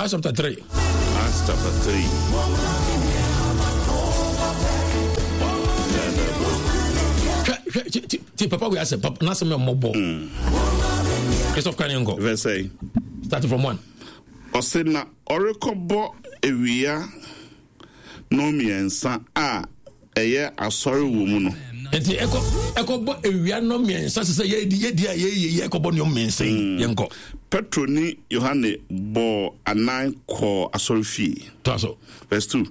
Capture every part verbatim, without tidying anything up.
Acts chapter three. Acts chapter three. Hwɛ ti papa wei asɛ papa n'asɛm yɛ mmɔbɔ. Christophe kan yɛn kɔ. Verse eight. Starting from one. Ɔsɛ na ɔrekɔbɔ ewia no mmiɛnsa a ɛyɛ asɔre wɔ mu no. Nti ɛkɔ ɛkɔbɔ ewia no mmiɛnsa sɛ yɛdi yɛdi a yɛyɛ yɛ ɛkɔbɔ nneɛma mmiɛnsa yi mm. yɛnkɔ. Petro ne Yohane bɔɔ anan kɔɔ asɔrefie. To aso. Verse two.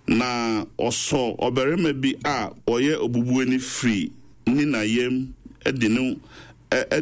Na ɔsɔ ɔbarima bi a ɔyɛ obubuani firi ne na yam de no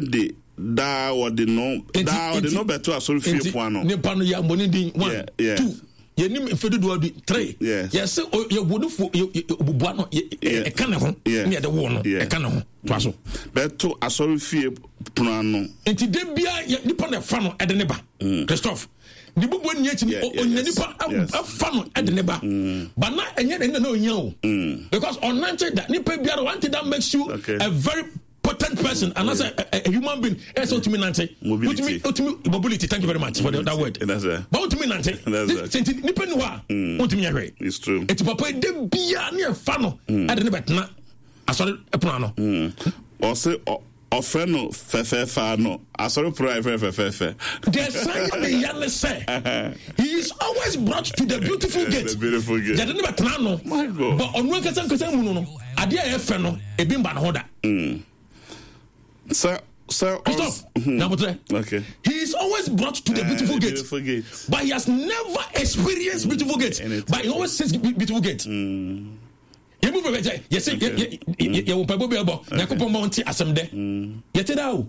de daa wɔde no daa wɔde no bɛto asɔrefie pon ano. Nipa no yɛ abɔ ne din one two yɛnim mfe dodoɔ bi three yɛsɛ yɛwɔ no fo obubua no ɛka ne ho ne yɛde woo no ɛka ne ho toa so. Bɛto asɔrefie pono ano. Nti de bia nipa na ɛfa no ɛde ne ba mm. Christophe ne bubu ni akyi onya nipa ɛfa no ɛde ne ba mm. but na ɛnyɛ ne na onya o mm. because ɔnante da nipa biara one thing that makes you okay. a very potent person mm. anaasɛ a, a human being ẹ sẹ otumi nante otumi otumi mobility thank you very much for the, that word but otumi nante nti nipa ni hɔ a otumi yɛ hwɛ eti papa yi de bia ne ɛfa no ɛde ne bɛ tena asɔre ɛpono ano. Ɔsɛ ɔfrɛ no fɛfɛɛfɛ ano asɔre pono a yɛfrɛ fɛfɛɛfɛ. Deɛ san yɛ ne ya ne sɛ he is always brought to the beautiful gate. The beautiful gate. Yɛde ne bɛ tena ano. But ɔno ankasa ankasa mu no no adeɛ a ɛyɛ fɛ no ebi mba ne ho da. Mm. Sir, sir, Christoph, mm-hmm. Okay. He is always brought to the uh, beautiful, gate, beautiful gate, but he has never experienced beautiful gate. Anything. But he always sees beautiful gate. Mm. yɛmu bɛbɛ sɛ yɛsɛ yɛwɔ mpaebɔ bi ɛbɔ nyankopɔn ma ɔnte asɛm dɛ yɛte daa o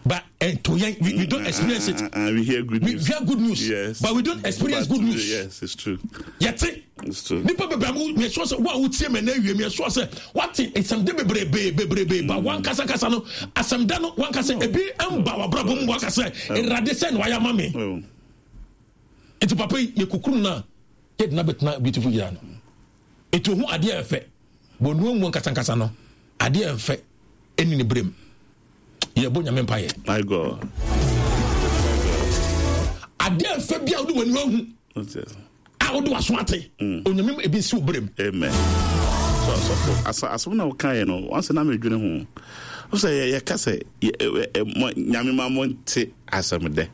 but ɛnto yɛn we don't experience it uh, uh, we hear good news we hear good news yes. but we don't experience but, good news yes it's true yɛte it's true nipa bebree amu yɛsɔ sɛ wo a wotie mɛ na awie mi yɛsɔ sɛ wate nsɛmde bebrebe bebrebe ba wankasa kasa no asɛmdɛ no wankasa ebi mba wabrabɔ mu wankasa awurade sɛ na wayɛ ama me nti papa yi yɛkukuru no a yɛde no abɛtena beautiful yira no Eti ohun adeɛ a ɛfɛ. Bɔ nua mu nkasankasa no, adeɛ a ɛfɛ ɛni ne berem. Yɛbɔ Nyame mpaeɛ. My God. Adeɛ a ɛfɛ bi a wode w'ani ahu a wode w'aso ate. Mm. Onyame ebi nsi wo berem. Amen. So asɔfo asa asɛm na wokaeɛ no wansi na medwene ho. Wo sɛ yɛka sɛ Nyame ma mo nte asɛm dɛ.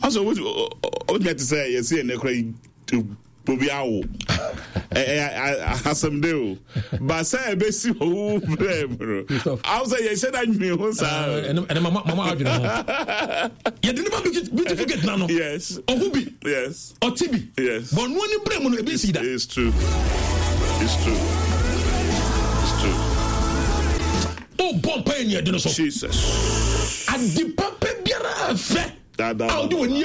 Ɔsɛ wobɛtumi ate sɛ yɛsi ɛnɛ kora obi awo asɛm de o ba sɛ ɛbɛsi owu berɛ mu no awo sɛ yɛhyɛ da nwene ho saa ɛnɛ mama mama adwene ho yɛde ne ba beautiful gate na no yes ɔho bi yes ɔte bi yes bɔnoa ne berɛ mu no ebi nsi da it's true it's true it's true o bɔ mpa yɛ ni ɛde no so Jesus ade papa biara fɛ a wode w'ani